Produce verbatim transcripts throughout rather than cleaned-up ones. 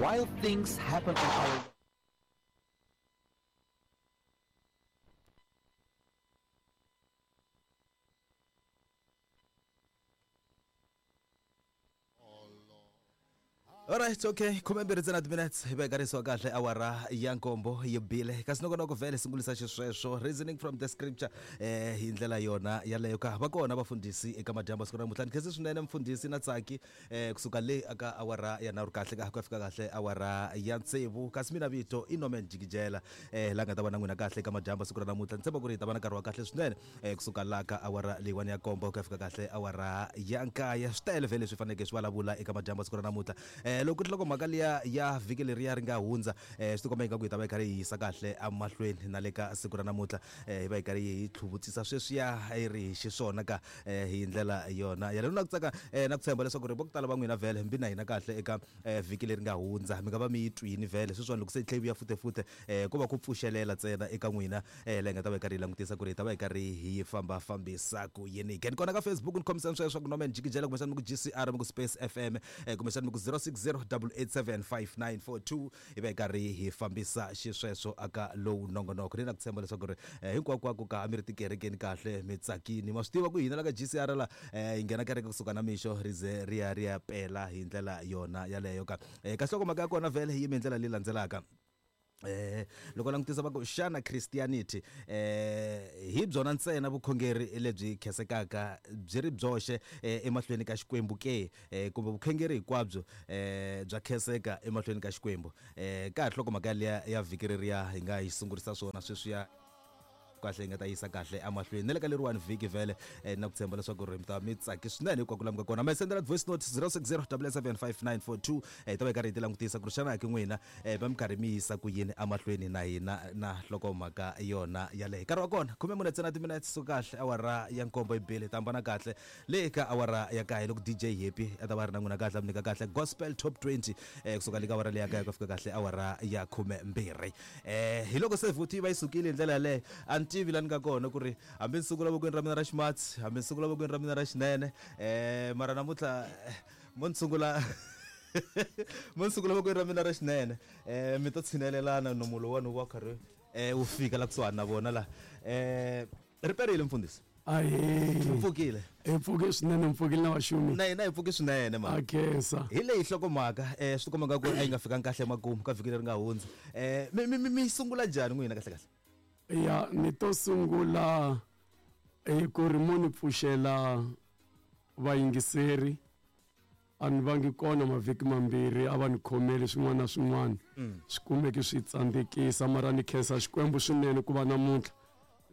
While things happen on our Alright, okay. Khume mbirhi ntsena minutes hi vekarisiwa kahle awara ya nkombo yi bile kasi nongonoko vhele sungulisa xisweswo reasoning from the scripture eh hi ndlela yona yaleyo ka va kona vafundhisi eka madyambu siku ra namuntlha ni khensi swinene mfundhisi na Tsaki eh kusuka le aka awara ya nharhu kahle ka ku fika kahle awara ya tsevu kasi mina vito i Norman Jikijela eh la nga ta va na n'wina kahle eka madyambu siku ra namuntlha ni tshemba ku ri hi ta va na nkarhi wa kahle swinene eh kusuka la ka awara leyiwani ya nkombo ku ya fika kahle awara ya nkaye swi tele vhele leswi faneleke swi vulavula eka madyambu siku ra namuntlha eh loko loko mhaka liya ya vhiki leriya ri nga hundza eh swi tikomba ingaku hi ta va hi karhi hi yisa kahle emahlweni na le ka siku ra namuntlha eh hi va hi karhi hi tlhuvutsisa sweswiya yi ri hi xiswona ka eh hi ndlela yona yaleyo na ku tsaka eh na ku tshemba leswaku ri vo ku tala va n'wina vhele mbi na hina kahle eka eh vhiki leri nga hundza mi nga va mi yi twini vhele sweswiwani loko se yi tlhe yi vuya futefute eh ko va ku pfuxelela ntsena eka n'wina eh leyi nga ta va hi karhi hi langutisa ku ri hi ta va hi karhi hi fambafambisa ku yini ke ni kona ka Facebook ni khomisani sweswo ku Norman Jikijela kumbexana mi ku G C R mi ku Space F M eh kumbexana mi ku zero six zero double eight seven five nine four two hi va hi karhi hi fambisa xisweswo aka lowu nongonoko ni na ku tshemba leswaku ri eh, hinkwakwako ka a mi ri tikerekeni kahle mi tsakini ma swi tiva ku hina la ka G C R la eh, hi nghena kereke kusuka na mixo ri ze ri ya ri ya pela hi ndlela yona yaleyo ka eh, ka nhlokomhaka ya kona vhele yi yime hi ndlela leyi landzelaka eh loko langutisa va ku xana Christianity eh hi byona ntsena vukhongeri lebyi khensekaka byi ri byoxe eh, emahlweni ka Xikwembu ke eh, kumbe vukhongeri hinkwabyo eh bya khenseka emahlweni ka Xikwembu eh ka ha nhlokomhaka liya ya vhiki reriya hi nga yi sungurisa swona sweswiya kahle hi nga ta yisa kahle emahlweni na le ka leriwani vhiki vhele eh, na ku tshemba leswaku ri mi ta mi tsaki swinene hinkwako laha mi nga kona mi sendela voice note zero six zero double seven five nine four two eh, hi ta va hi karhi hi ti langutisa ku ri xana ki n'wina eh, va mi karhi mi yisa ku yini emahlweni na hina na nhlokomhaka yona yaleyo nkarhi wa kona khume mune ntsena timinetse so kahle awara ya nkombo yi bile hi ta hambana kahle le ka awara ya kaye loko D J Happy a ta va ri na n'wina kahle a mi nyika kahle gospel top twenty eh, kusuka le ka awara leya kaye ku fika kahle awara ya khume mbirhi eh hi loko se vhuti yi va yi sukile hi ndlela yaleyo a ni tivi la ni nga kona ku ri hambi ni sungula vokweni ra mina ra ximatsi hambi ni sungula vokweni ra mina ra xinene eh mara namuntlha mo ni sungula mo ni sungula vokweni ra mina ra xinene eh mi to tshinelelana nomu lowuwani wu va karhi eh wu fika la kusuhani na vona la eh ri perile mfundhisi Ahee. Mi pfukile Hi pfuke swinene mi pfukile na vaxumi na hina hi pfuke swinene ma a khensa hi leyi nhlokomhaka eh swi tikomba nga ku a yi nga fikanga kahle emakumu ka vhiki leri nga hundza eh mi mi mi sungula njhani n'wina kahle kahle ya ni to sungula hi ku ri mo ni pfuxela vayingiseri a ni vangi kona mavhiki mambirhi a va ni khomeli swin'wana na swin'wana swi kumeki swi tsandzekisa mara ni khensa Xikwembu swinene ku va namuntlha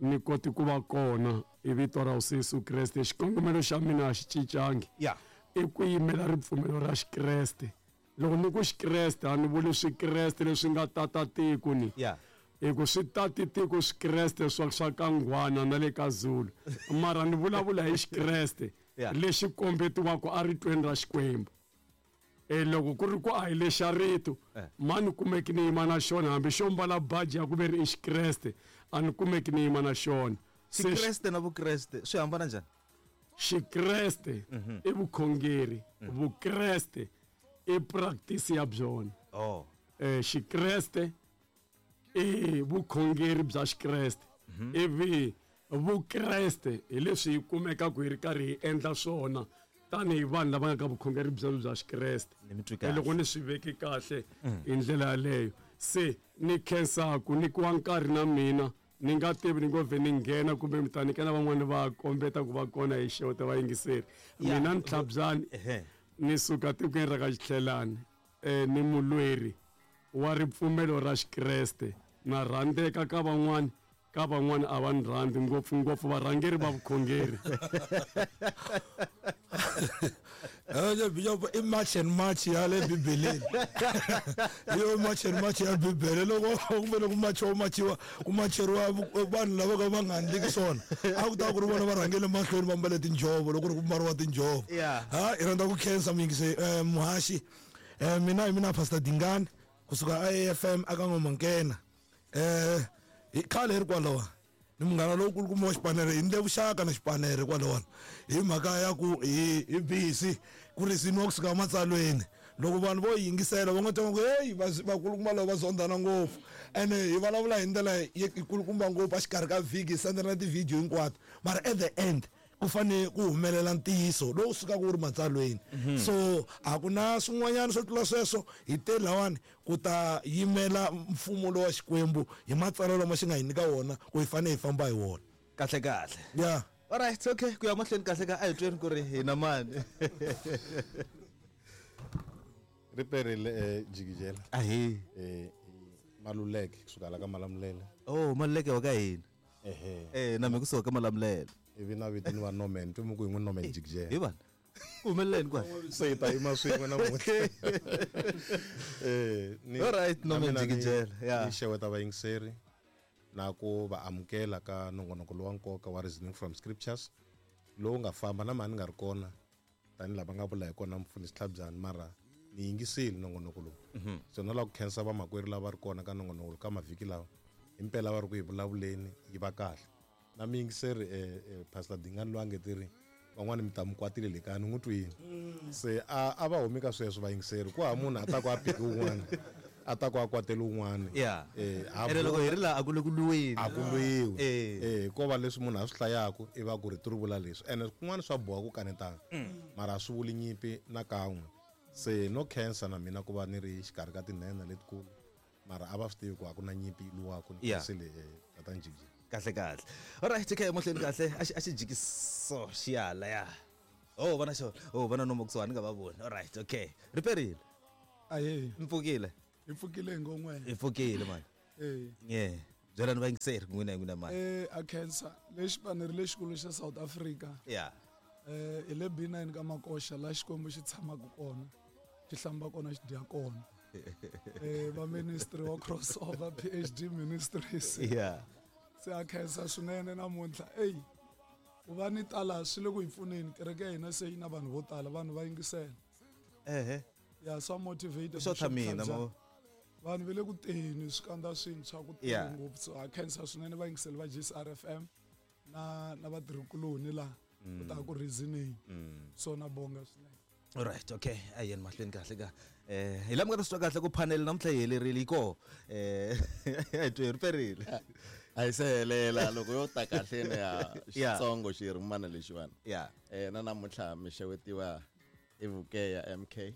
ni koti ku va kona hi vito ra Hosi Yesu Kreste xikongomelo xa mina a xi cincangi ya i ku yimela ripfumelo ra Xikreste loko ni ku Xikreste a ni vuli swikreste leswi nga tata tiko ni ya hi ku swi tati tiko swikreste swa swa ka Nghwana na le ka Zulu mara ni vulavula hi Xikreste Yeah. lexi kombetiwaka eritweni ra Xikwembu e loko ku ri ku a hi lexa rito Eh. ma ni kumeki ni yima na xona hambi xo mbala baji ya ku ve ri i Xikreste a ni kumeki ni yima na xona Se Xikreste na Vukreste swi hambana njhani Xikreste i vukhongeri Vukreste i practice ya byona oh eh Xikreste i vukhongeri bya Xikreste ivi Vukreste hi leswi hi kumekaka hi ri karhi hi endla swona tanihi vanhu lava nga ka vukhongeri byebyo bya Xikreste Ni mi twi kahle. loko ni swi veki kahle hi ndlela yaleyo se ni khensaku nyikiwa nkarhi na mina ni nga tivi ni ngo vhe ni nghena kumbe mi ta nyika na van'wani va kombeta ku va kona hi xeweta vayingiseri Ya. mina ni Tlhabyani Ehe. ni suka tikweni ra ka Xitlhelani eh ni mulweri wa ripfumelo ra Xikreste na rhandzeka ka van'wani ka van'wani a va ni rhandzi ngopfungopfu varhangeri va vukhongeri Eh bishop i march and march ya le bibeleni yo march and march ya bibele loko kumbe loko machiwa machiwa ku macheriwa vanhu lava ka va nga endliki swona a ku ta ku ri vona va rhangele mahlweni va mbale tinjhovo loko ri ku mbariwa tinjhovo Yeah. ha hi rhandza ku khensa muyingise eh, muhaxi eh, mina hi mina Pastor Dingani kusuka A F M aka N'wamankena eh hi khale hi ri kwalawa ni munghana lowukulukumba wa xipanere hi ndle vuxaka na xipanere kwalawani hi mhaka ya ku hi hi busy ku risimiwa kusuka ematsalweni Loko vanhu vo yingisela va nga twa ku hey vakulukumba lava va zondana ngopfu ene hi vulavula hi ndlela yikulukumba ngopfu exikarhi ka vhiki hi sendela ti-video hinkwato mara at the end ku fanele ku humelela ntiyiso lowu sukaka wu ri matsalweni. So a ku na swin'wanyana swo tlula sweswo hi te lawani ku ta yimela mfumo lowa Xikwembu hi matsalwa lama xi nga hi nyika wona ku hi fanele hi famba hi wona. Kahle kahle. Yeah. All right, okay, ku ya mahlweni kahle ka a hi tweni ku ri hina mani. Riperile eh jikijela. Ahi. Eh Maluleke kusuka la ka Malamulele. Oh, Maluleke wa ka hina. Ehe. Eh na mina kusuka ka Malamulele. Ivi na vito ni va Norman, twi ku hi n'wi Norman jikijela. Hi vana. Ku humeleleni kwala. Se hi ta yima swin'we namuntlha. Eh ni All right, Norman jikijela. Yeah. Ni xeweta vayingiseri na ku va amukela ka nongonoko lowa nkoka wa Reasoning from Scriptures lowu nga famba na mani nga ri kona tanihi lava nga vula hi kona mfundhisi Tlhabyani mara ni yingisile nongonoko lowu. So na lava ku khensa vamakwerhu lava ri kona ka nongonoko ka mavhiki lawa himpela va ri ku hi vulavuleni yi va kahle. Na miyingiseri eh Pastor Dingani loyi a nge tiri van'wani mi ta mi kwatile le kaya ni n'wi twini. Se a a va humi ka sweswo vayingiseri ku ha munhu a ta ku a piki wun'wana a ta ku a kwatela wun'wana. Yeah. Eh ene loko hi ri laha a ku le ku lwiweni. A ku lwiwi. Eh. Eh ko va leswi munhu a swi hlayaku i va ku ri ti ri vula leswi ene kun'wana swa boha ku kanetana mara a swi vuli nyimpi na kan'we. Se no khensa na mina ku va ni ri xikarhi ka tinhenha letikulu mara a va swi tivi ku a ku na nyimpi yi lwiwaka ni Yeah. khensile tatana Jikijela. Kahle kahle. All right, okay, mahlweni kahle a xi a xi jikiso xiyala ya. Oh vona xona. Oh vona nomo kusuhani nga va voni. All right, okay. Riperile. Aye. Mpfukile. Hi pfukile ngomwe. Hi pfukile mani. Eh. Yeah. Byelani vayingiseri n'wina n'wina mani. Eh a khensa lexi paneri lexikulu xa South Africa. Yeah. Eh hi le B nine ka Makoxa la Xikwembu xi tshamaka kona. Xi hlamba kona xi dya kona. Eh va ministry wa crossover P H D Ministries. Yeah. Se a khensa swinene namuntlha. Ey ku va ni tala swi le ku hi pfuneni kereke ya hina se yi na vanhu vo tala vanhu va yingisela. Ehe. Ya swa motivate. Swo tha mina mo. Vanhu va le ku teni swikandza swintshwa ku tele Yeah. ngopfu so a khensa swinene vayingiseli va G C R F M na na vatirhikuloni laha ku ta ku reasoning. So na bonga swinene. All right, okay. A yeni mahlweni kahle ka. Eh hi lama nga ta swi twa kahle ku panel namuntlha yi helerile yi koho. Eh a hi twe riperile. A yi se helela loko yo ta kahle ne ya Yeah. Xitsongo xi rimana lexiwani. Yeah. Eh na namuntlha mi xewetiwa i Vukeya M K.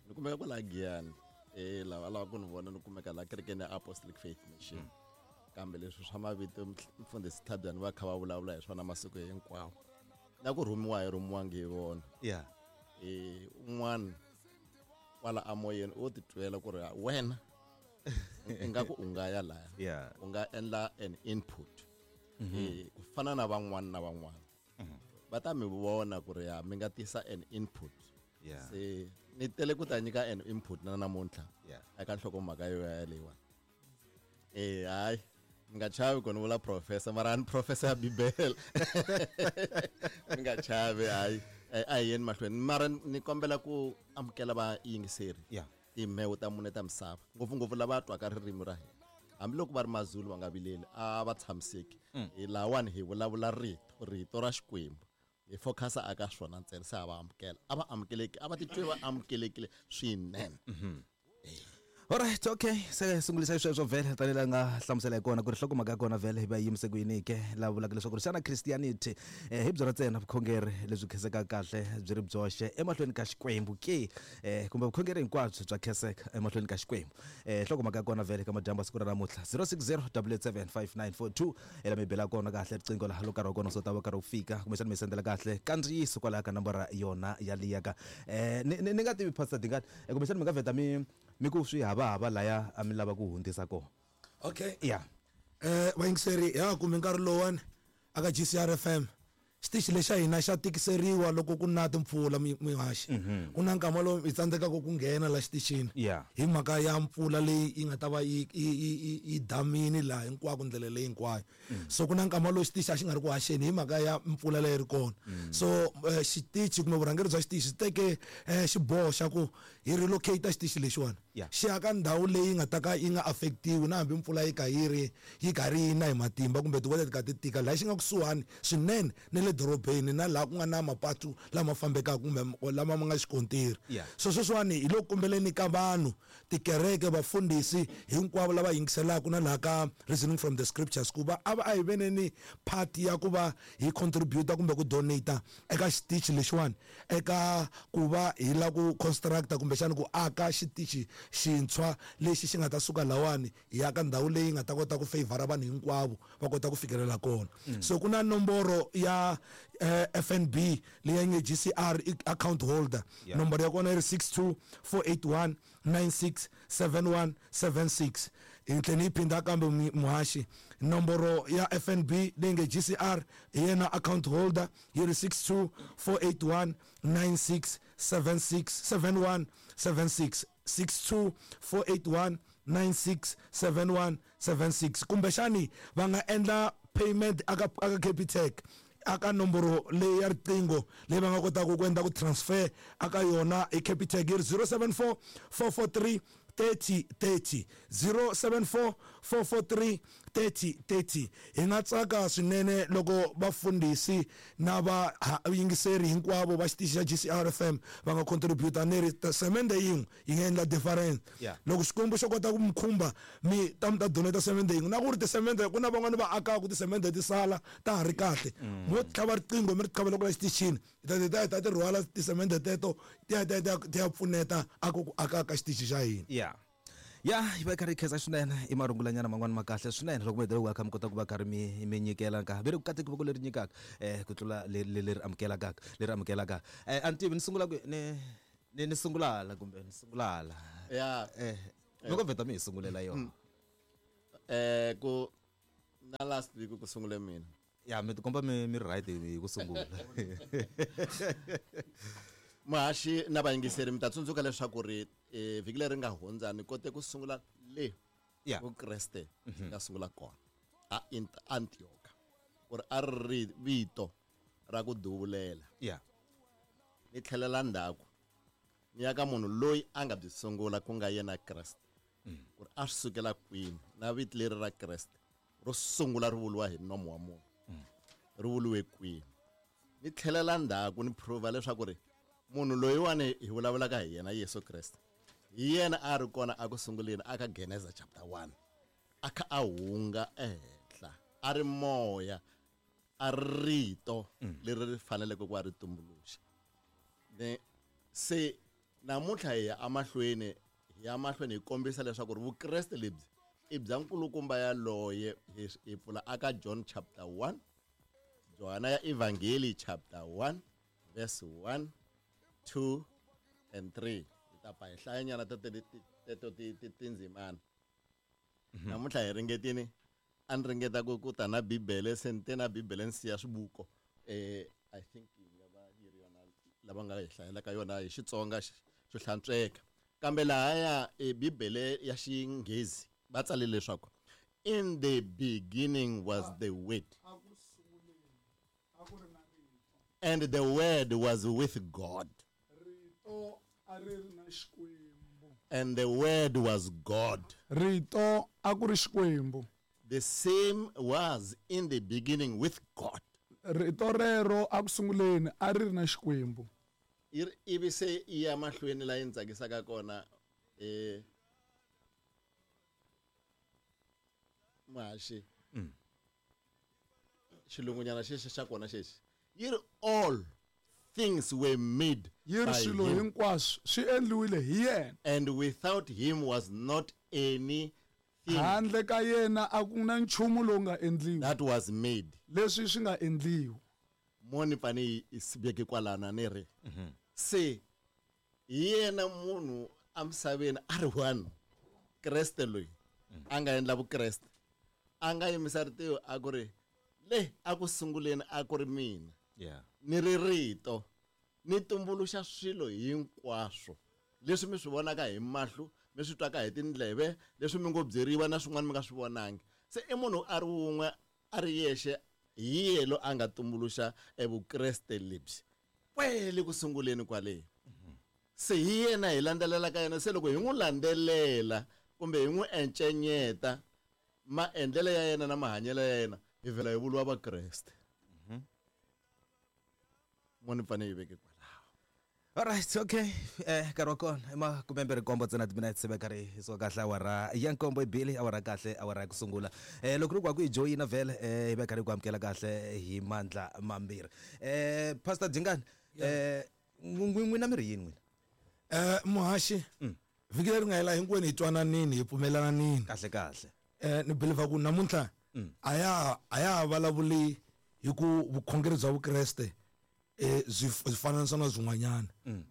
Ni kumeka kwala Giyani. Eh lava lava ku ni vona ni kumeka la kerekeni ya Apostolic Faith Mission. Kambe leswi swa mavito mfundhisi Tlhabyani va kha va vulavula hi swona masiku hinkwawo. Na ku rhumiwa hi rhumiwangi hi vona. Yeah. Eh un'wana kwala amoyeni u titwela ku ri wena ingaku u nga ya laya. Yeah. U nga endla an input. Eh ku fana na van'wana na van'wana. Va ta mi vona ku ri ya mi nga tisa an input. Yeah. Se ni tele ku ta nyika an input na namuntlha. Yeah. Eka nhlokomhaka yo ya leyiwani. Eh hayi mi nga chavi ku ni vula professor mara ni professor ya Bibele. Mi nga chavi hayi a hi yeni mahlweni mara ni kombela ku amukela vayingiseri. Yeah. Timhewu ta mune ta misava ngopfungopfu lava twaka ririmi ra hina hambiloko va ri mazulu va nga vileli a va tshamiseki. Hi lawani hi vulavula rito rito ra Xikwembu hi focusa aka swona ntsena se a va amukela a va amukeleki a va titwi va amukelekile swinene. All right, okay. Se sungulisa sweswo vhele tanihi laha nga hlamusela hi kona ku ri nhlokomhaka ya kona vhele hi va yimise ku yini ke laha vulaka leswaku ri xana Christianity eh, hi byona ntsena vukhongeri lebyi khensekaka kahle byi ri byoxe emahlweni ka Xikwembu ke eh, kumbe vukhongeri hinkwabyo bya khenseka emahlweni ka Xikwembu. Eh, nhlokomhaka ya kona vhele ka madyambu siku ra namuntlha zero six zero double eight seven five nine four two ela mi bela kona kahle riqingho laha loko nkarhi wa kona so ta va karhi wu fika kumbexana mi sendela kahle kandziyiso kwalaya ka nambara yona yaliya ka eh, ni ni nga tivi Pastor Dingani eh, kumbexana mi nga vheta mi mi ku swi hava hava laya a mi lava ku hundzisa kona. Okay. Yeah. Eh vayingiseri ya kumbe nkarhi lowani aka G C R F M xitichi lexa hina xa tikiseriwa loko ku na timpfula mihaxi. Ku na nkama lowu hi tsandzekaka ku nghena la xitichini. Yeah. Hi mhaka ya mpfula leyi yi nga ta va yi yi yi damini laha hinkwako ndlela leyi hinkwayo. So ku na nkama lowu xitichi a xi nga ri ku haxeni hi mhaka ya mpfula leyi ri kona. So xitichi kumbe vurhangeri bya xitichi xi teke xiboho xa ku hi relocate xitichi lexiwani. Xi ya ka ndhawu leyi nga ta ka yi nga affectiwi na hambi mpfula yi ka yi ri yi karhi yi na hi matimba kumbe tiweather ti ka ti tika laha xi nga kusuhani swinene na le le dorobeni na laha ku nga na mapatu lama fambekaka kumbe lama ma nga xikontiri. Yeah. So sweswiwani hi le ku kombeleni ka vanhu, tikereke, vafundhisi hinkwavo lava yingiselaka na laha ka Reasoning from the Scriptures, ku va a va a hi veneni part ya ku va hi contributa kumbe ku donata eka xitichi lexiwani, eka ku va hi lava ku constructa kumbexana ku aka xitichi xintshwa lexi xi nga ta suka lawani hi ya ka ndhawu leyi nga ta kota ku favor vanhu hinkwavo va kota ku fikelela kona. So ku na nomboro ya eh, F N B leyi nge G C R account holder. Yeah. Nomboro ya kona yi ri six two four eight one nine six seven one seven six. Hi tlhela yi phinda kambe muhaxi, nomboro ya F N B leyi nge G C R hi yena account holder yi ri six two four eight one nine six seven six seven one seven six. six two four eight one nine six seven one seven six. Kumbexani va nga endla payment aka aka Capitec aka nomboro leyi ya riqingho leyi va nga kotaka ku endla ku transfer aka yona hi Capitec yi ri zero seven four four four three thirty thirty, zero seven four four four three thirty thirty. Hi nga tsaka swinene loko vafundhisi na va yingiseri hinkwavo va xitichi xa G C R F M va nga contributa ni ri semende yin'we yi nga endla difference. Yeah. Loko Xikwembu xo kota ku mi khumba mi ta mi ta donata semende yin'we, na ku ri tisemende ku na van'wani va akaka tisemende ti sala ta ha ri kahle, mo tlhava riqingho mi ri tlhavela kwala xitichini, hi ta ti ta ti rhwala tisemende teto ti ya ti ya ti ya pfuneta aka ku aka ka xitichi xa hina. Yeah. Ya, yi va yi karhi yi khensa swinene i marungulanyana man'wani ma kahle swinene loko mi hetelela ku kha mi kota ku va karhi mi mi nyikela nkarhi ve ri ku kateki voko leri nyikaka eh ku tlula leri leri amukelaka leri amukelaka. Eh a ni tivi ni sungula ku ni ni ni sungula hala kumbe ni sungula hala. Ya. Eh loko vheta mi hi sungulela yona. Eh ku na last week ku sungule mina. Ya mi tikomba mi mi right hi ku sungula. Muhaxi na vayingiseri mi ta tsundzuka leswaku ri eh vhiki leri nga hundza ni kote ku sungula le Yeah. Vukreste nga sungula kona a Antioch, ku ri a ri vito ra ku duvulela. Yeah. Ni tlhelela ndzhaku ni ya ka munhu loyi a nga byi sungula ku nga yena Kreste, ku ri a swi sukela kwini na vito leri ra Kreste ro sungula ri vuriwa hi nomo wa munhu ri vuriwe kwini. Ni tlhelela ndzhaku ni prova leswaku ri munhu loyiwani hi vulavulaka hi yena Yesu Kreste hi yena a ri kona a ku sunguleni aka Genesis chapter one, a kha a hunga ehenhla a ri moya a rito leri ri faneleke ku va ri tumbuluxa. Ne se namuntlha hi ya emahlweni hi ya mahlweni hi kombisa leswaku ri Vukreste lebyi i bya nkulukumba yaloye. Hi pfula aka John chapter one, Johana ya Evangeli chapter one verse one, two and three. Hi ta pa hi hlayanyana teto tindzimana. Namuntlha hi ringetini a ni ringeta ku ku ta na Bibele, se ni te na Bibele ni siya swibuko. Eh I think yi nga va yi ri yona lava nga hi hlayelaka yona hi Xitsonga xo hlantsweka. Kambe lahaya e Bibele ya Xinghezi va tsale leswaku in the beginning was the Word, and the Word was with God, and the Word was God. Rito a ku ri Xikwembu. The same was in the beginning with God. Rito rero a ku sunguleni a ri ri na Xikwembu. Ivi se yi ya mahlweni laha yi ni tsakisaka kona eh Muhaxi. Xilungunyana xexi xa kona xexi yi ri all things were made Yi ri by swilo him, hinkwaswo swi endliwile hi yena, and without him was not anything handle ka yena a ku na nchumu lowu nga endliwa that was made. leswi swi nga endliwa. Mo ni fane yi siveke kwalana ni ri se hi yena munhu emisaveni a ri one Kreste loyi a nga endla Vukreste, a nga yimisa ritiho a ku ri le a ku sunguleni a ku ri mina, Yeah. ni ri rito ni tumbuluxa swilo hinkwaswo leswi mi swi vonaka hi mahlo, mi swi twaka hi tindleve, leswi mi ngo byeriwa na swin'wana mi nga swi vonangi. Se i munhu a ri wun'we a ri yexe, hi yelo a nga tumbuluxa eVukreste lebyi kwele ku sunguleni kwale. Se hi yena hi landzelela ka yena. Se loko hi n'wi landzelela kumbe hi n'wi encenyeta maendlelo ya yena na mahanyelo ya yena, hi vhela hi vuriwa Vakreste. Mo ni fanele yi veke kwalaho. Alright, okay. Eh nkarhi wa kona i makume mbirhi nkombo ntsena timinete se va karhi hi suka kahle awara ya nkombo ibili awara kahle awara ya ku sungula. Eh loko ri ku ku hi joyina vhele eh hi va karhi ku amukela kahle hi mandla mambirhi. Eh Pastor Dingani, eh n'wina mi ri yini n'wina? Eh muhaxi, vhiki leri nga hela hinkwenu hi twananini hi pfumelananini. Kahle kahle. Eh ni believe ku namuntlha a ya a ya vulavuli hi ku vukhongeri bya Vukreste eh zwi fananisa na swin'wanyana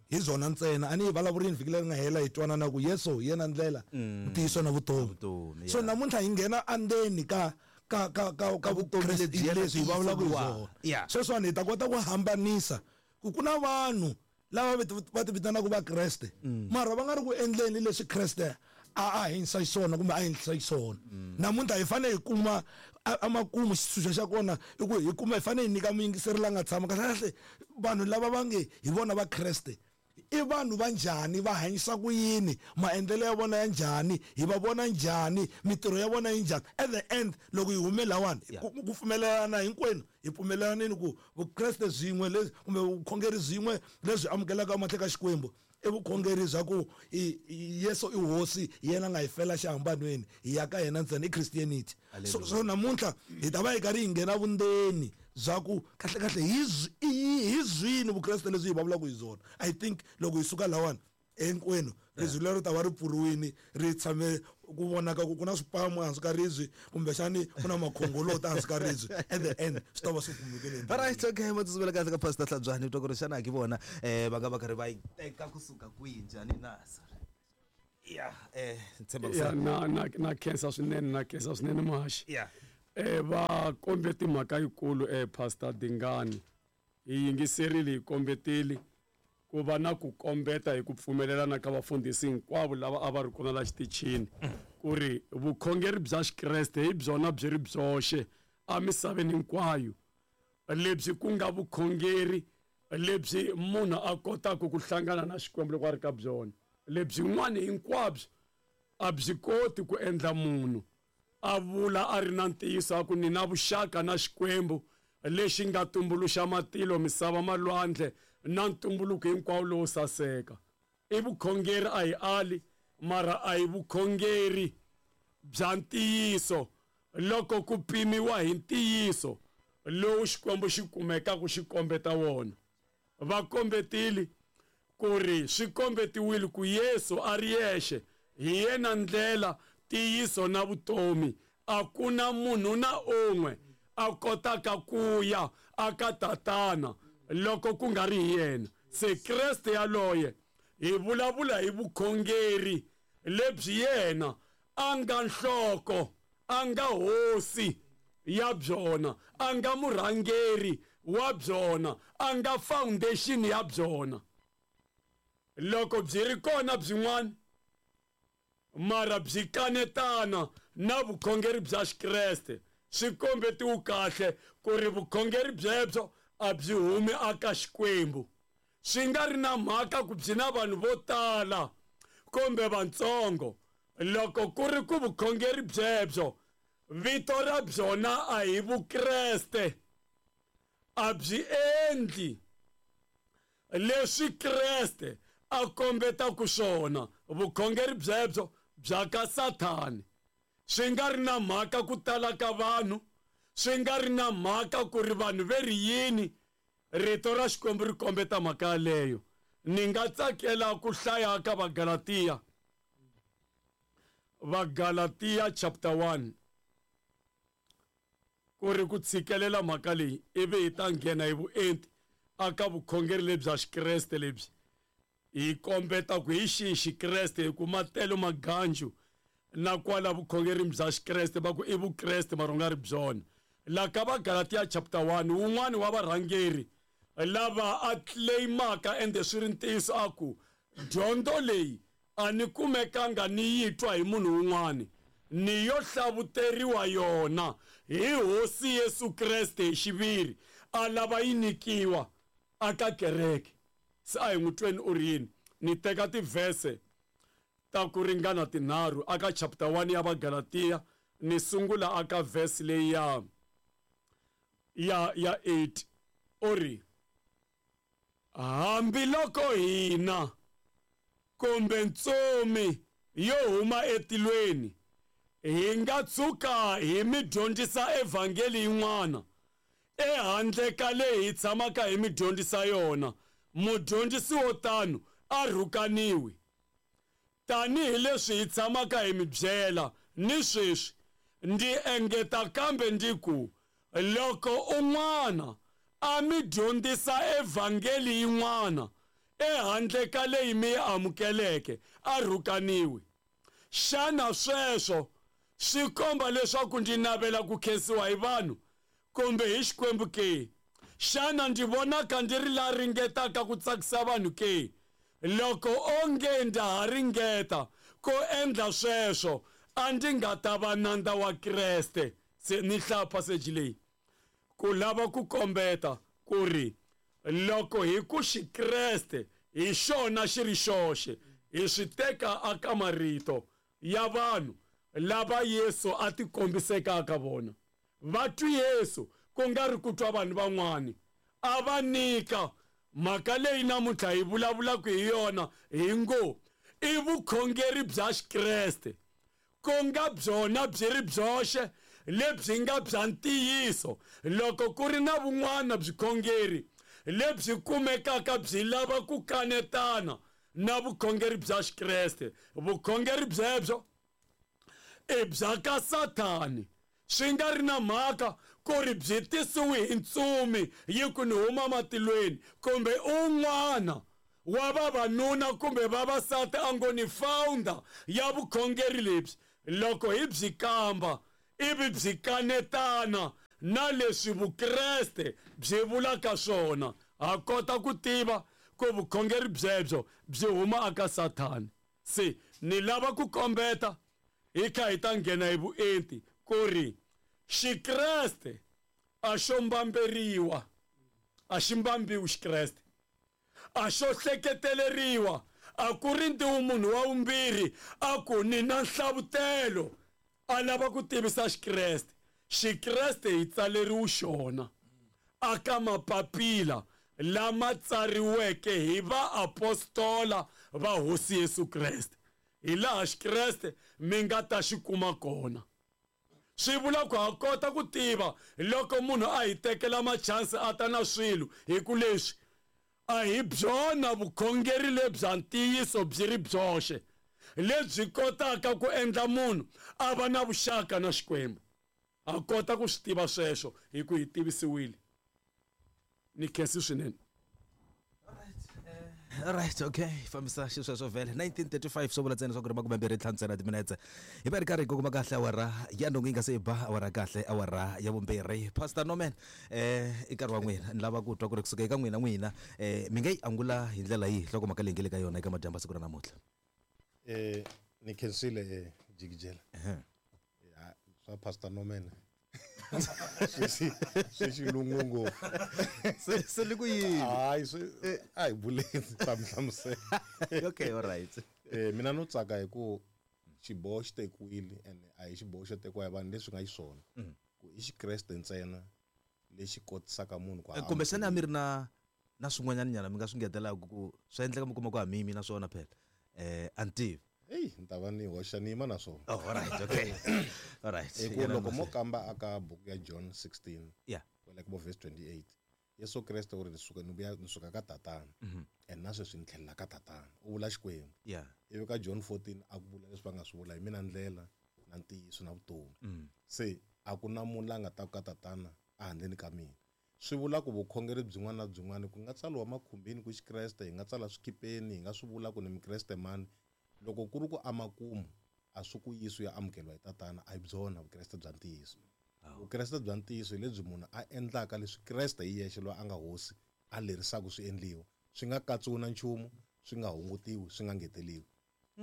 hi byona ntsena a ni hi vulavurini vhiki leri nga hela hi twanana ku Yesu hi yena ndlela ntiyiso na vutomi. So namuntlha hi nghena andzeni ka ka ka ka ka vukreste lebyi hi vulavulaka hi byona. Sweswiwani hi ta kota ku hambanisa ku ku na vanhu lava va ti vitanaka Vakreste mara va nga ri ku endleni leswi Kreste a a hindza xiswona kumbe a hindza xiswona. Namuntlha hi fanele hi kuma amakumu xitshunxo xa kona i ku hi kuma hi fanele hi nyika muyingiseri la nga tshama kahle kahle vanhu lava va nge hi vona Vakreste i vanhu va njhani, va hanyisa ku yini, maendlelo ya vona ya njhani, hi va vona njhani, mitirho ya vona yi njhani. At the end loko hi hume lawani ku pfumelelana hinkwenu hi pfumelelanini ku Vukreste byin'we leswi kumbe vukhongeri byin'we lebyi amukelaka emahlweni ka Xikwembu i vukhongeri bya ku Yesu i hosi, yena nga hi fela xihambanweni, hi ya ka yena ntsena, i Christianity. So so namuntlha hi ta va hi karhi hi nghena vundzeni bya ku kahle kahle hi hi zwini Vukreste lebyi hi vulavulaka hi byona. I think loko hi suka lawani hinkwenu ribye lero ta va ri pfuriwini ri tshame ku vonaka ku ku na swipamu ehansi ka ribye kumbexani ku na makhongolota ehansi ka ribye. At the end swi ta va swi kumekile. Alright, okay, ma tsutsumela kahle ka Pastor Hlabyani twa ku ri xana ki vona eh va nga va karhi va yi teka kusuka kwihi njhani na sorry. Yeah, eh ntshemba ku na na na khensa swinene na khensa swinene muhaxi. Yeah. Eh va kombe timhaka yikulu eh Pastor Dingani hi yingiserile hi kombetile ku va na ku kombeta hi ku pfumelelana ka vafundhisi hinkwavo lava a va ri kona la xitichini ku ri vukhongeri bya Xikreste hi byona byi ri byoxe emisaveni hinkwayo lebyi ku nga vukhongeri lebyi munhu a kotaka ku hlangana na Xikwembu loko a ri ka byona. Lebyin'wana hinkwabyo a byi koti ku endla munhu a vula a ri na ntiyiso a ku ni na vuxaka na Xikwembu lexi nga tumbuluxa matilo misava malwandle na ntumbuluko hinkwawo lowo saseka. I vukhongeri a hi ali mara a hi vukhongeri bya ntiyiso loko ku pimiwa hi ntiyiso lowu Xikwembu xi kumekaka xi kombeta wona. Va kombetile ku ri swi kombetiwile ku Yesu a ri yexe hi yena ndlela ntiyiso na vutomi, a ku na munhu na un'we a kotaka ku ya aka tatana loko ku nga ri hi yena. Se Kreste yaloye hi vulavula hi vukhongeri lebyi yena a nga nhloko, a nga hosi ya byona, a nga murhangeri wa byona, a nga foundation ya byona. Loko byi ri kona byin'wana mara byi kanetana na vukhongeri bya Xikreste, swi kombetiwe kahle ku ri vukhongeri byebyo a byi humi aka Xikwembu. Swi nga ri na mhaka ku byi na vanhu vo tala kumbe vantsongo, loko ku ri ku vukhongeri byebyo vito ra byona a hi Vukreste, a byi endli leswi Kreste a kombetaka swona, vukhongeri byebyo bya ka Sathani. Swi nga ri na mhaka ku tala ka vanhu, swi nga ri na mhaka ku ri vanhu ve ri yini, rito ra Xikwembu ri kombeta mhaka yaleyo. Ni nga tsakela ku hlaya ka Vagalatiya, Vagalatiya chapter one, ku ri ku tshikelela mhaka leyi ivi hi ta nghena hi vuenti aka vukhongeri lebya Xikreste lebyi hi kombeta ku hi xihi Xikreste, hi ku matelo maganju na kwala vukhongeri bya Xikreste va ku i Vukreste mara u nga ri byona. La ka Vagalatiya chapter one, wun'wani wa varhangeri lava a claimaka ende swi ri ntiyiso a ku dyondzo leyi a ni kumekanga ni yi twa hi munhu wun'wani, ni yo hlavuteriwa yona hi Hosi Yesu Kreste hi xiviri, a lava yi nyikiwa aka kereke. Se a hi n'wi tweni u ri yini. Ni teka tivhese ta ku ringana tinharhu aka chapter one ya Vagalatiya, ni sungula aka verse leyi ya ya ya eight. U ri Hambiloko hina kumbe ntsumi yo huma etilweni hi nga tshuka hi mi dyondzisa evhangeli yin'wana ehandle ka leyi hi tshamaka hi mi dyondzisa yona, mudyondzisi wo tano a rhukaniwi. Tanihileswi hi tshamaka hi mi byela ni sweswi, ndzi engeta kambe ndzi ku, loko un'wana a mi dyondzisa evhangeli yin'wana ehandle ka leyi mi yi amukeleke, a rhukaniwi. Xana sweswo swi komba leswaku ndzi navela ku khensiwa hi vanhu kumbe hi Xikwembu ke? Xana ndzi vonaka ndzi ri la ringetaka ku tsakisa vanhu ke? Loko onge ndza ha ringeta ku endla sweswo, a ndzi nga ta va nandza wa Kreste. Se ni hlaya passage leyi ku lava ku kombeta ku ri loko hi ku Xikreste hi xona xi ri xoxe, hi swi teka aka marito ya vanhu lava Yesu a tikombiseke ka vona. Va twi Yesu ku nga ri ku twa vanhu van'wani, a va nyika mhaka leyi namuntlha hi vulavulaka hi yona hi ngo i vukhongeri bya Xikreste, ku nga byona byi ri byoxe lebyi nga bya ntiyiso. Loko ku ri na vun'wana byikhongeri lebyi kumekaka byi lava ku kanetana na vukhongeri bya Xikreste, vukhongeri byebyo i bya ka Sathani. Swi nga ri na mhaka ku ri byi tisiwe hi ntsumi yi ku ni huma matilweni, kumbe un'wana wa vavanuna kumbe vavasati a ngo ni founder ya vukhongeri lebyi. Loko hi byi kamba ivi byi kanetana na leswi Vukreste byi vulaka swona, ha kota ku tiva ku vukhongeri byebyo byi huma aka Sathani. Se ni lava ku kombeta hi kha hi ta nghena hi vuenti ku ri Xikreste a xo mbamberiwa, a xi mbambiwi Xikreste, a xo hleketeleriwa. A ku ri ntiwu munhu wa vumbirhi a ku ni na nhlavutelo a lava ku tivisa Xikreste. Xikreste hi tsaleriwe xona aka mapapila lama tsariweke hi vaapostola va Hosi Yesu Kreste, hi laha Xikreste mi nga ta xi kuma kona. Swi vula ku ha kota ku tiva loko munhu a hi tekela machansi a ta na swilo, hi ku leswi a hi byona vukhongeri lebya ntiyiso byi ri byoxe lebyi kotaka ku endla munhu a va na vuxaka na Xikwembu. Ha kota ku swi tiva sweswo hi ku hi tivisiwile. Ni khensi swinene. All right, okay. Fambisa xisweswo vhele nineteen thirty-five swo vula ntsena swa ku ri makume mbirhi ntlhanu ntsena timinetse. Hi va ri karhi hi kongoma kahle awara ya nhungu yi nga se yi ba awara kahle awara ya vumbirhi. Pastor Norman, eh i nkarhi wa n'wina, ni lava ku twa ku ri kusuka eka n'wina n'wina eh mi nga yi angula hi ndlela yihi nhlokomhaka leyi nge le ka yona eka madyambu siku ra namuntlha? Eh ni khensile eh jikijela. Ya swa Pastor Norman. Swi swi xilungu ngopfu. Se se li ku yini? Hayi swi a hi buleni ta mi hlamusela. Okay, all right. Eh mina no tsaka hi ku xiboho xi tekiwile and a hi xiboho xo tekiwa hi vanhu leswi nga xiswona. Ku i Xikreste ntsena lexi kotisaka munhu ku Kumbe xana a mi ri na na swin'wanyana nyana mi nga swi ngetelaka ku swi endleka mi kuma ku a mimi na swona phela. Eh a ni tivi. Hey, ni ta va ni hoxa ni yima na swona. Oh, all right, okay. All right. Hi ku loko mo kamba aka buku ya John sixteen. Yeah. Kwala ka verse twenty-eight. Yesu Kreste u ri ni suka ni vuya ni suka ka tatana. And na sweswi ni tlhelela ka tatana. U vula Xikwembu. Yeah. Ivi ka John fourteen a ku vula leswi va nga swi vula hi mina ndlela na ntiyiso na vutomi. Se a ku na munhu la nga ta ku ka tatana a handleni ka mina. Swi vula ku vukhongeri byin'wana na byin'wana ku nga tsariwa makhumbini ku Xikreste, hi nga tsala swikipeni, hi nga swi vula ku ni Mikreste mani. Loko ku ri ku amakumu a swi ku yisi ya amukeriwa hi tatana, a hi byona Vukreste bya ntiyiso. Vukreste bya ntiyiso hi lebyi munhu a endlaka leswi Kreste hi yexe loyi a nga hosi a lerisaka swi endliwa, swi nga katsiwi na nchumu, swi nga hungutiwi, swi nga ngeteliwi.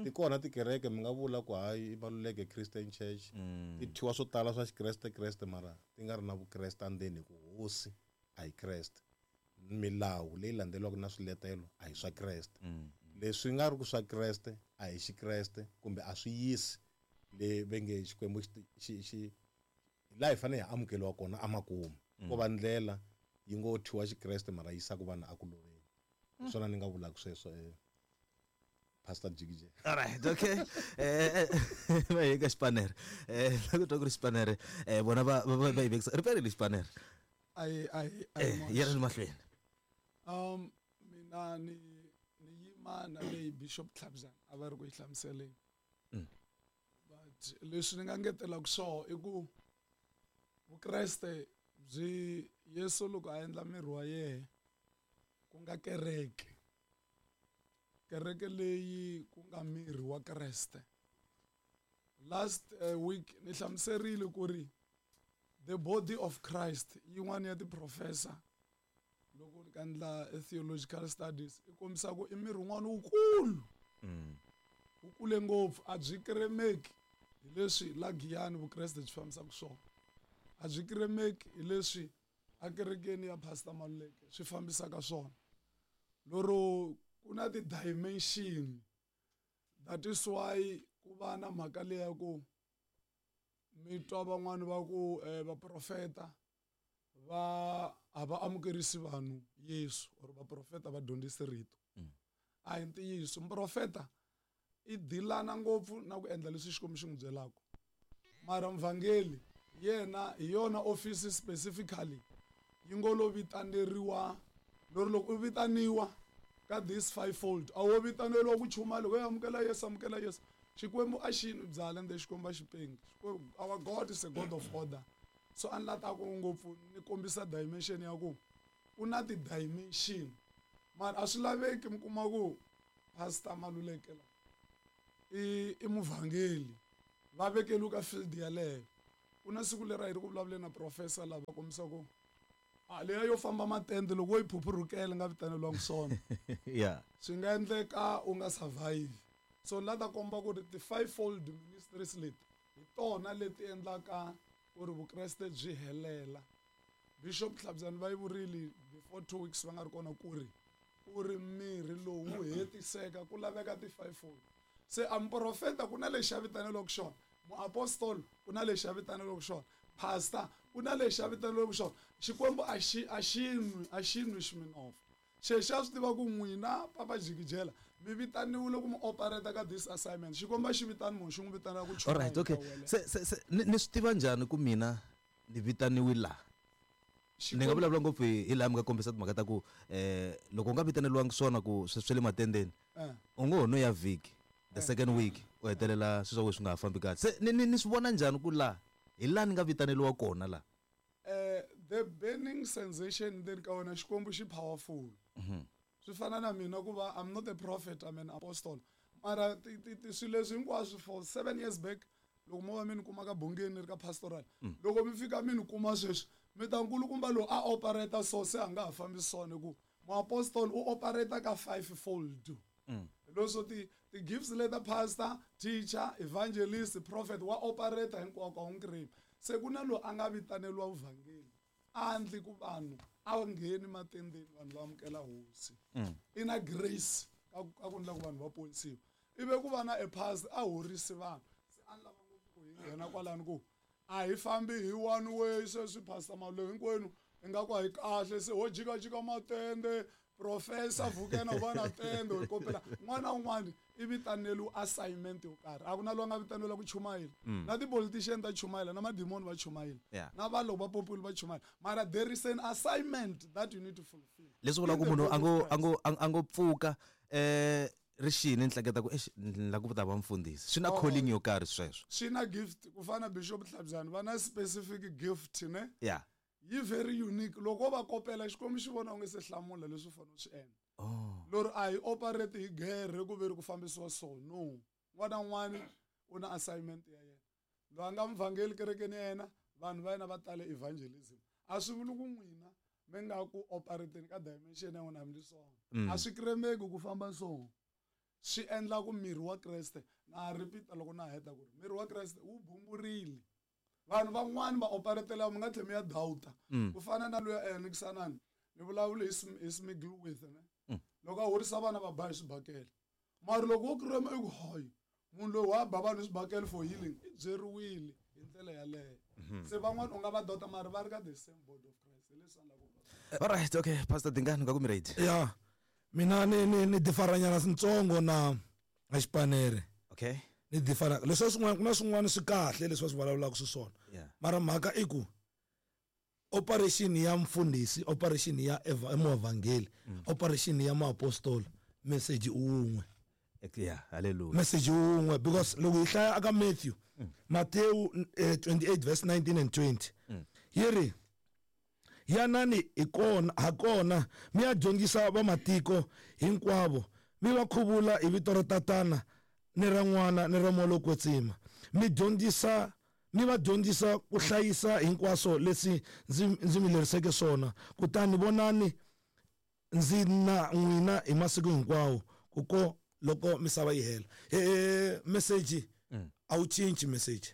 Ti kona tikereke mi nga vula ku hayi i Maluleke Christian Church, ti thyiwa swo tala swa Xikreste Kreste mara ti nga ri na Vukreste endzeni hi ku hosi a hi Kreste. Milawu leyi landzeriwaka na swiletelo a hi swa Kreste. Leswi nga ri ku swa Kreste a hi Xikreste kumbe a swi yisi le va nge Xikwembu xi xi laha hi fanele hi amukeriwa kona amakumu. Ko va ndlela yi ngo thyiwa Xikreste mara yisaka vanhu a ku loveni. Hi swona ni nga vulaka sweswo eh Pastor Jigije. All right, okay. Eh va hi ka xipanere. Eh loko twa ku ri xipanere, eh vona va va va yi vekisa. Riperile xipanere. Ai ai Eh ya ri mahlweni. Um mina ni ni yima na leyi Bishop Tlhabzana a va ri ku yi hlamuseleni. Mm. But leswi ni nga ngetelaka swona i ku Vukreste byi Yesu loko a endla miri wa yena ku nga kereke. Kereke leyi ku nga miri wa Kreste. Last uh, week ni hlamuserile ku ri the body of Christ yin'wana ya ti-professor loko ni ka endla theological studies i kombisa ku i miri wun'wana wukulu. Mm. Wu kule ngopfu a byi kremeki hi leswi la Giyani Vukreste byi fambisaka swona. A byi kremeki hi leswi a kerekeni ya Pastor Maluleke swi fambisaka swona. Loro ku na ti-dimension. That is why ku va na mhaka leyi ya ku mi twa van'wani va ku eh, vaprofeta va a va amukerisi vanhu Yesu or vaprofeta va dyondzisi rito. Mm. A hi ntiyiso, muprofeta i dilana ngopfu na ku endla leswi Xikwembu xi n'wi byelaka. Mara muvhangeli yena hi yona office specifically yi ngo lo vitaneriwa lori loko u vitaniwa ka this fivefold a wo vitaneriwa ku chuma loko yo amukela Yesu amukela Yesu. Xikwembu a xi nwi byala ende Xikwembu a xi pengi. Xikwembu, our God is a God of order. So a ni la ta ku ngopfu ni kombisa dimension ya ku ku na ti-dimension. Mara a swi laveki mi kuma ku Pastor Maluleke la i i muvhangeli va vekeliwe ka field yaleyo. Ku na siku leri a hi ri ku vulavuleni na professor lava kombisa ku a leya yo famba matende loko wo yi phuphurhukela nga vitaneliwangi swona. Yeah. Swi nga endleka u nga survive. So la ta komba ku ri ti-fivefold ministries leti hi tona leti endlaka ku ri Vukreste byi helela. Bishop Tlhabzana va yi vurile before two weeks va nga ri kona ku ri ku ri mirhi lowu wu hetiseka ku laveka ti-fivefold. Se a muprofeta ku na lexi a vitaneliwaka xona, muapostoli ku na lexi a vitaneliwaka xona, pastor ku na lexi a vitaneliwaka xona. Xikwembu a xi a xi nwi a xi nwi ximinofu. Xexi a swi tiva ku n'wina Papa Jikijela mi vitaniwile ku mi operate ka this assignment. Xikwembu a xi vitani munhu xi n'wi vitanela ku All right, okay. Se se se ni ni swi tiva njhani ku mina ni vitaniwe la? Ni nga vulavula ngopfu hi hi laha mi nga kombisa timhaka ta ku eh loko u nga vitaneliwangi swona ku swi swi le matendeni Eh. u ngo ho no ya vhiki the second week u hetelela swilo swa wena swi nga ha fambi kahle. Se ni ni ni swi vona njhani ku la hi laha ni nga vitaneliwa kona la? Eh the burning sensation ndzeni ka wena Xikwembu xi powerful. Swi fana na mina ku va I'm not a prophet, I'm an apostle. Mara ti ti ti swilo leswi hinkwaswo for seven years back loko mo va mi ni kuma ka bongeni ni ri ka pastoral. Loko mi fika mi ni kuma sweswi mi ta nkulukumba lowu a operate so se a nga ha fambisi swona ku muapostoli u operate ka fivefold. Leswo ti ti gifts leta pastor, teacher, evangelist, prophet wa operate hinkwako a wu nkrimi. Se ku na loyi a nga vitaneliwa vuvhangeli a endli ku vanhu a ngheni matendeni vanhu va amukela hosi. I na grace ka ku ka ku endla ku vanhu va ponisiwa. Ivi ku va na a pastor a horisi vanhu. Se a ni lava ngopfu ku hi nghena kwalano ku a hi fambi hi one way sweswi Pastor Maluleke hinkwenu ingaku a hi kahle se ho jikajika matende professor Vukena u va na tende hi kopela un'wana na un'wana i vitaneliwe assignment yo karhi. A ku na loyi a nga vitaneliwa ku chumayela. Na ti-politician ta chumayela na madimoni va chumayela. Yeah. Na vanhu loko va popiwile va chumayela. Mara there is an assignment that you need to fulfill. Leswi vulaka ku In the munhu a body ngo of a ngo a ngo pfuka eh rixini ni hleketa ku eish ni lava ku ta va mfundhisi. Swi na Oh. calling yo karhi sweswo. Swi na gift ku fana na Bishop Tlhabzana va na specific gift ne. Yeah. Yi very unique loko va kopela Xikwembu xi vona u nge se hlamula leswi u fanele u swi endla. Oh. Lori a hi operate hi gere ku ve ri ku fambisiwa so no. Un'wana na un'wana u na assignment ya yena. Loyi a nga muvhangeli kerekeni ya yena vanhu va yena va tale evangelism. A swi vuli ku n'wina mi nga ku operateni ka dimension ya n'wina hambi swona. A swi kremeki ku famba so. Swi endla ku miri wa Kreste na repeat loko na heta ku ri miri wa Kreste wu bumburile. Vanhu van'wani va operatela mi nga tlhela mi ya doubta. Ku fana na luya eh Nikisanani ni vulavula hi hi Smiggle with ne. Loko a horisa vana va ba hi swibakele. Mara loko wo krema i ku hayi munhu loyi wa ba vanhu hi swibakele for healing i byeriwile hi ndlela yaleyo. Se van'wani u nga va doubta mara va ri ka the same body of Christ. Hi leswi a ni lava ku All right, okay, Pastor Dingani nga ku mi ready. Yeah. Mina ni ni ni differanyana ntsongo na na xipanere. Okay. Ni differ leswi swin'wana ku na swin'wana swi kahle leswi va swi vulavulaka swiswona. Yeah. Mara mhaka i ku operation ya mfundhisi, operation ya eva- muevhangeli, operation ya muapostola, message wun'we. Yeah, hallelujah. Message wun'we because loko hi hlaya aka Matthew, Matthew eh, twenty-eight verse nineteen and twenty. Yi ri yanani hi kona ha kona mi ya dyondzisa vamatiko hinkwavo mi va khuvula hi vito ra tatana ni ra n'wana ni ra moya lowo kwetsima mi dyondzisa mi va dyondzisa ku hlayisa hinkwaswo leswi ndzi ndzi mi leriseke swona kutani vonani ndzi na n'wina hi masiku hinkwawo ku ko loko misava yi hela. Eh message a wu cinci message.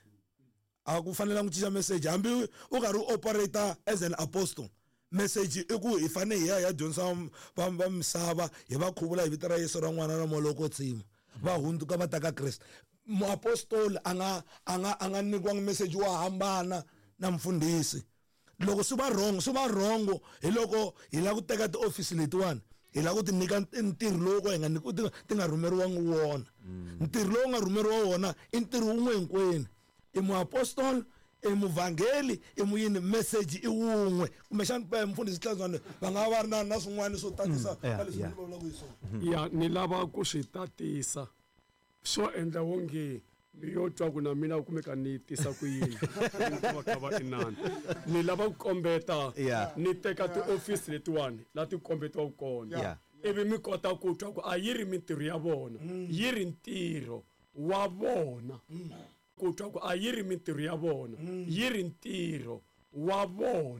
A ku fanelanga ku cinca message hambi u karhi u operator as an apostle. Message i ku hi fane hi ya hi ya dyondzisa va va misava hi va khuvula hi vito ra Yesu ra n'wana na moya lowo kwetsima va hundzuka va ta ka Kreste. Muapostoli a nga a nga a nga nyikiwangi message wo hambana na mfundhisi. Loko swi va wrong swi va wrong hi loko hi lava ku teka tiofisi letiwani hi lava ku ti nyika ntirho lowu ka hi nga nyikiwi ti ti nga rhumeriwangi wona. Ntirho lowu nga rhumeriwa wona i ntirho wun'we hinkwenu. I muapostoli, i muvhangeli, i muyini, message i wun'we. Kumbexana mfundhisi Hlantswana va nga va ri na na swin'wana swo tatisa Mm, yeah, ka leswi yeah. ni vulavulaka hi swona. Ya ni lava ku swi tatisa swo endla wonge ni yo twa ku na mina kumeka ni tisa ku yini va kha va inani ni lava ku kombeta Yeah. ni teka tiofisi letiwani la ti kombetiwaka kona Yeah. ivi mi kota ku twa ku a yi ri mintirho ya vona yi ri ntirho wa vona ku twa ku a yi ri mintirho ya vona yi ri ntirho wa vona.